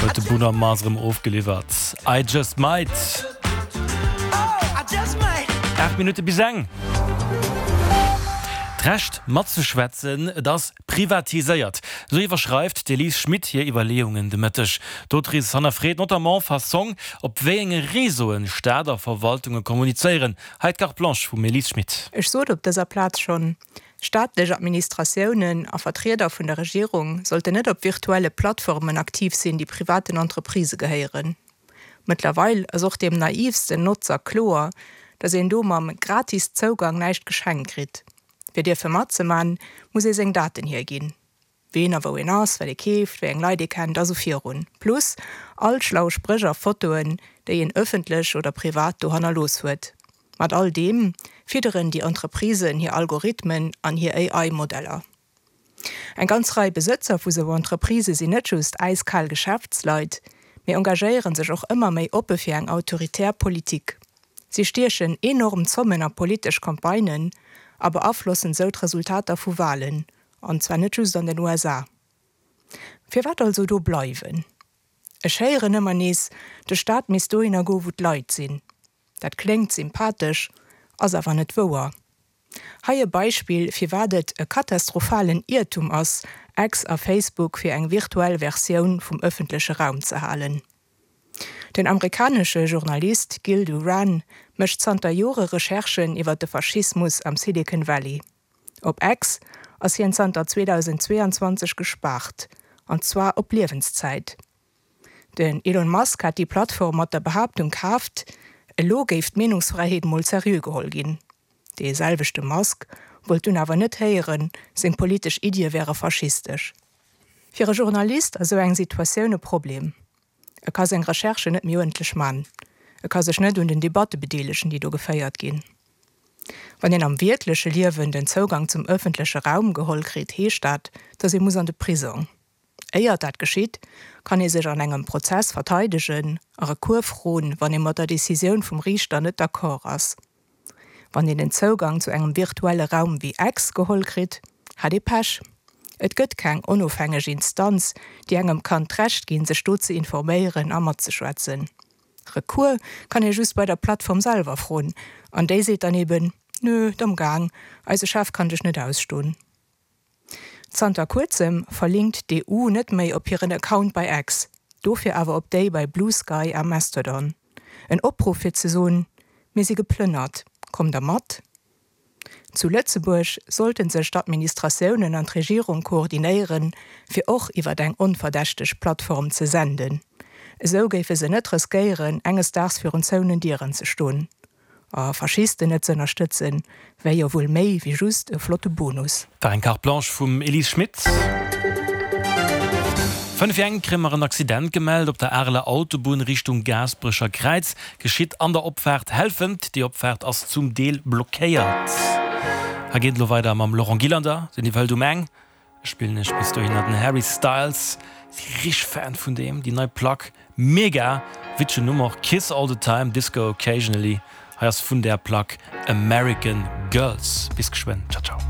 Huet de Bruno Mars erëm ofgeliwwert. I Just Might. 8 Minutte bis eng. D'Recht matzeschwätzen, et ass privatiséiert. Esou iwwerschreift d'Elise Schmit hir Iwwerleeungen de Mëtteg. D'Autrice hannerfreet notamment Fassong, op wéi enge Réseauen Staat a Verwaltunge kommunizéieren. Hei d'Carte Blanche vum Elise Schmit. Ech sot op dëser Plaz schonn, Staatlech Administratiounen a Vertrieder vun der Regierung sollten net op virtuelle Plattformen aktiv sinn, déi privaten Entreprisë gehéieren. Mëttlerweil ass och deem naivsten Notzer kloer, datt een do mam gratis Zougang näischt geschenkt kritt. Fir dierfe matzeman, muss ee seng Daten hierginn. Ween a wou een ass, wat ee keeft, wéi eng Leit ee kennt a sou virun. Plus all schlau Spréch a Fotoen, déi een ëffentlech oder privat do hannerlooss huet. Mat all deem fidderen déi Entreprisen hir Algorithmen an hir AI-Modeller. Eng ganz Rei Besëtzer vu sou Entreprisë sinn net just äiskal Geschäftsleit, mee engagéiere sech och ëmmer méi oppe fir eng autoritär Politik. Si stiechen enorm Zommen a politesch Campagnen a beaflossen sou d'Resultater vu Walen, an zwar net just an den USA. Firwat also do bleiwen? Ech héieren ëmmer nees, de Staat misst dohinner goen, wou d'Leit sinn. Dat kléngt sympathesch, ass awer net wouer. Hei e Beispill, firwat et e katastrophalen Iertum ass, X a Facebook fir eng virtuell Versioun vum ëffentleche Raum ze halen. Den amerikanesche Journalist Gil Duran mécht zanter Jore Recherchen iwwer de Faschismus am Silicon Valley. Op X ass hien zanter 2022 gespaart, an zwar op Liewenszäit. Den Elon Musk hat déi Plattform mat der Behaaptung kaaft, elo géif d'Meenungsfräiheet mol seriö geholl ginn. Dee selwechte Musk wollt dunn awer net héieren, seng politesch Iddie wäre faschistesch. Fir e Journalist ass esou eng Situatioun e Problem. E ka seng Recherchen net méi uerdentlech man, e ka sech net un den Debatte bedeelegen, déi do geféiert ginn. Wann een am wierkleche Liewen den Zougang zum ëffentleche Raum geholl kritt, heescht dat, datt ee muss an de Prisong. Éiert dat geschitt, kann ee sech an engem Prozess verteidegen a Recours froen, wann ee mat der Decisioun vum Riichter net d'accord ass. Wann een den Zougang zu engem virtuelle Raum wéi X geholl kritt, hat ee Pech. Et gëtt keng onofhängeg Instanz, déi engem kann d'Recht ginn, sech do ze informéieren a matzeschwätzen. Recours kann ee just bei der Plattform selwer froen, an déi seet dann eben, Nö, domm gaang, eise Chef kann dech net ausston. Zanter kuerzem verlinkt d'EU net méi op hiren Account bei X, dofir awer op déi bei Bluesky a Mastodon. En Opruff fir ze soen, Mir si geplënnert, kommt der mat? Zu Lëtzebuerg sollte sech d'Administratiounen an d'Regierung koordinéieren, fir och iwwer eng onverdächteg Plattform ze senden. Esou géife se net riskéieren, enges Daags virun zouenen Dieren ze stoen. A Faschisten net z'ënnerstëtzen, wär jo wuel méi wéi just e flotte Bonus. War eng Carte Blanche vum Elise Schmit. 5 vir eng kréie mer en Accident gemellt op der Areler Autobunn Richtung Gaasperecher Kräiz. Geschitt an der Opfaart Helfent. Déi Opfaart ass zum Deel blockéiert. Hei geet et elo weider mam Laurent Gillander, den iwwerhëlt um eng. Ech spillen iech bis dohinner den Harry Styles, si richteg Fan vun deem, déi nei Plack mega, witzegen Numm och, Kiss All The Time, Disco Occasionally, hei ass vun där Plack American Girls. Bis geschwënn, ciao ciao.